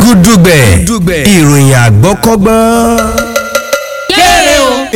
Gúdúgbẹ̀ ìròyìn àgbọ́kọ́gbọ́n.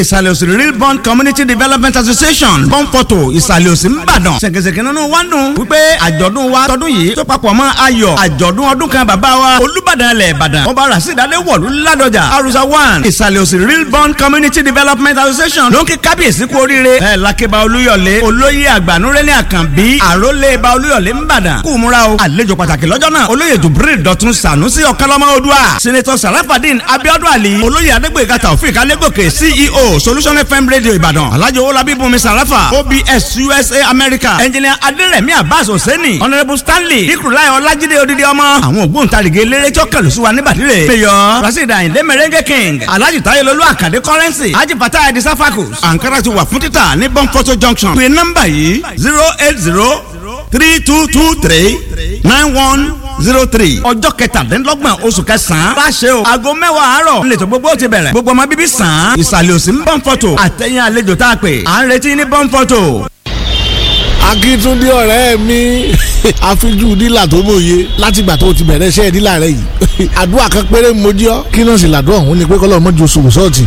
Ìsàlẹ̀ Òsì Real Bond Community Development Association, Bọ́ǹpọ̀tò, Ìsàlẹ̀ Òsì, Ńbàdàn. Ṣèkèṣèkè nínú wa ń dùn wípé àjọ̀dún wa tọdún yìí tó papọ̀ mọ́ ayọ̀ àjọ̀dún ọdún kan bàbá wa, Olúbàdàn ilẹ̀ Ìbàdàn, Ọba Rasheed Adéwọ̀lú Ládọjà Arusa 1. Ìsàlẹ̀ Òsì Real Bond Community Development Association ló ń kí kábíyèsí kú oríire ẹ̀ lákébá Olúyọ̀lé, olóyè àgbànúrẹ́lẹ̀ Àkànbí, àrólé ba Olúyọ̀lé Ńbàdàn, kú múra o. Àlejò pàtàkì lọ́jọ́ náà, olóyè Jubril Dọ̀tun Sànúsì Ọ̀kánlọ́mọ Odua, Senator Sarafadin Abiodun Ali, olóyè Adégbèga Taofik Alégòkè, CEO Solution FM Radio Ìbàdàn, Alhaji Owolabi Bùnmi Sarafa, OBS USA America, Engineer Aderemi Abbas Hosseini, Honourable Stanley Ikurulai Ọlájídé Odidi Ọmọ. Àwọn ògbóǹtarìgì eléré tí ó kẹlù sí wa níbàdí rè: Mayor Rasheed Ayinde Merengue King, Alhaji Tayelolu Akande Currency, Haji Fatah Edi Safakus. Ankara ti wà fún títà ní Bọ́ńfọ́tò Junction. Pé nọ́mbà yìí: 08032239103. Ọjọ́ 23 oṣù kẹsàn-án bá ṣe o, aago 10 àárọ̀ nílẹ̀ tó gbogbo ti bẹ̀rẹ̀. Gbogbo ọmọ bíbí sàn án Ìsàlẹ̀ Òsì ń Bọ́ǹfọ̀tò àtẹ̀yìn àlejò tá a pè à ń retí ní Bọ́ǹfọ̀tò. Akíntúndé ọ̀rẹ́ mi, àfijú dílà tó mòye látìgbà tó ti bẹ̀rẹ̀ iṣẹ́ dílà rẹ yìí, àdúrà kan péré mojí ọ. Kí náà sì làdúrà ọ̀hún ni pé kọ́lọ́ mọ́jú oṣù sọ́ọ̀tì.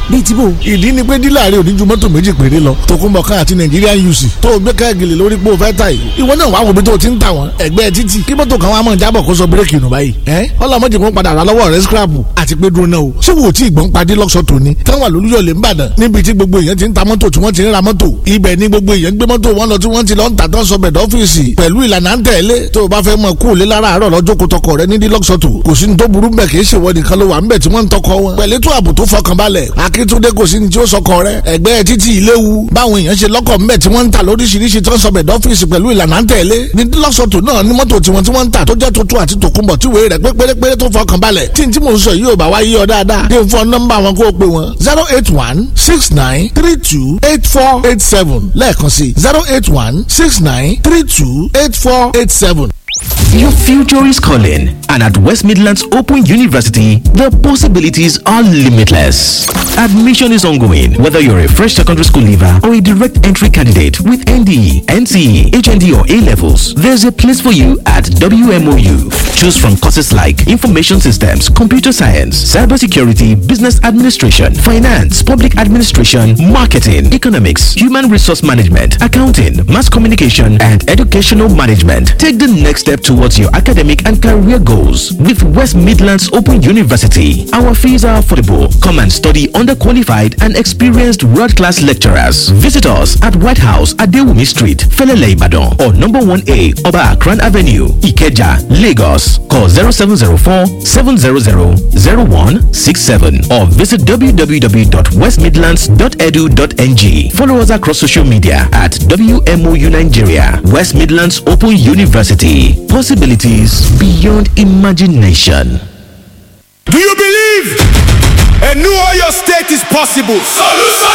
Bíi tí bò? Ìdí ni pé dílà rẹ ò ní ju mọ́tò méjì péré lọ, tòkunbọ̀kan àti Nigerian UC tó o gbé kẹ́gìlì lórí pé o fẹ́ ta yìí. Ìwọ náà wàá wo bí tó o ti ń ta wọn ẹgbẹ́ títì, kí mọ́tò kan wàá mọ̀ jábọ̀ kó sọ bírèkì nù báyìí. Ẹ́ ọlọ́mọdé kan padà rà lọ́wọ́ rẹ scrap. Àti pé dúró náà o, ṣé wo tí ìgbọ́n padì lọ́sọ̀ tòní táwọn àlùyọ̀lẹ̀ ń bàdàn, níbi tí gbogbo èèyàn ti ń ta mọ́tò tí wọ́n ti ń ra mọ́tò? Ibẹ̀ ni gbogbo èèyàn gbé mọ́tò wọn lọ tí wọ́n ti lọ ń tà tán, sọ bẹ̀dọ̀ ọ́fíìsì pẹ̀lú ìlànà ń tẹ̀lé. Tó o bá fẹ́ mọ̀ kú òlé lára àárọ̀ lọ́jọ́ kó tọkọ rẹ ní dílọ́sọ̀tò, kò sí ní tó burú bẹ̀. Kì í ṣèwọ nìkan ló wà ń bẹ̀ tí wọ́n ń tọkọ wọn pẹ̀lú ètò ààbò tó fọkànbalẹ̀. Akíntúndé, kò sí ní tí ó sọkọ rẹ ẹgbẹ́ títí ìléwu. Báwọn èèyàn ṣe lọ́kọ̀ ńbẹ̀ tí wọ́n ń tà lóríṣiríṣi tí wọ́n sọ bẹ̀dọ̀ ọ́fíìsì pẹ̀lú ìlànà ń tẹ̀lé ní lọ́sọ̀tò náà ní mọ́tò tiwọn tí wọ́n ń tà tó jẹ́ tuntun àti tòkunbọ̀ tí wèé rẹ̀ pé pérépéré tó fọkàn balẹ̀. Tí n tí mò ń sọ yìí ò bá wá yí ọ dáadáa, dé fún nọ́mbà wọn kó o pè wọn: 08169328487. Lẹ́ẹ̀kan sí: 08169328487. Your future is calling, and at West Midlands Open University, the possibilities are limitless. Admission is ongoing, whether you're a fresh secondary school leaver or a direct entry candidate with NDE, NCE, HND, or A levels. There's a place for you at WMOU. Choose from courses like Information Systems, Computer Science, Cybersecurity, Business Administration, Finance, Public Administration, Marketing, Economics, Human Resource Management, Accounting, Mass Communication, and Educational Management. Take the next step towards your academic and career goals with West Midlands Open University. Our fees are affordable. Come and study under qualified and experienced world class lecturers. Visit us at White House at Dewumi Street, Felele Ibadan, or number 1A Oba Akran Avenue, Ikeja, Lagos. Call 0704 700 0167 or visit www.westmidlands.edu.ng. Follow us across social media at WMOU Nigeria, West Midlands Open University. Possibilities beyond imagination. Do you believe a new Oyo State is possible? Solution.